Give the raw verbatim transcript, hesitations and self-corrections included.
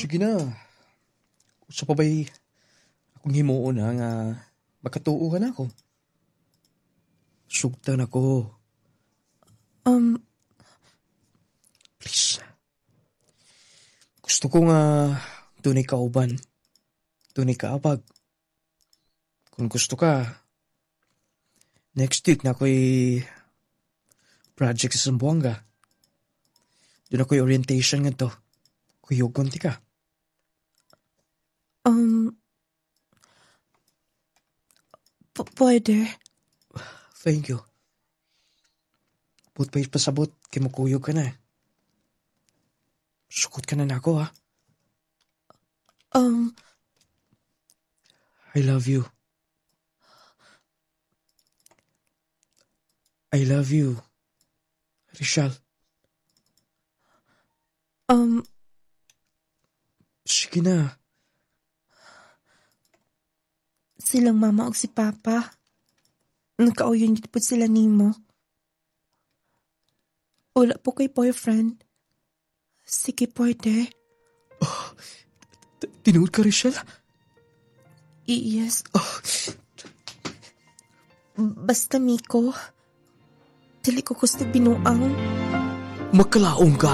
Sige na. Usa pa ba'y akong himuon na nga makatuo ka nako. Sugtan ako. Um, Please. Gusto ko nga dunay kauban. Dunay kaabag. Kung gusto ka, next week naa ko'y project sa Zamboanga. Duna ko'y orientation ngadto. Kuyugon tika. um, p- pwede. Thank you. Buot pa pasabot, kay mukuyog ka na. Sukot ka na nako ha. Um, I love you. I love you, Rachel. um, Sige na. silang mama og si papa. Nagkauyon gyud pud sila nimo. Wala po kay boyfriend. Sige, pwede. T- Tinuod ka, Rachel? I- Yes. Basta, Miko. Dili ko gusto binuang. Makalaom ka.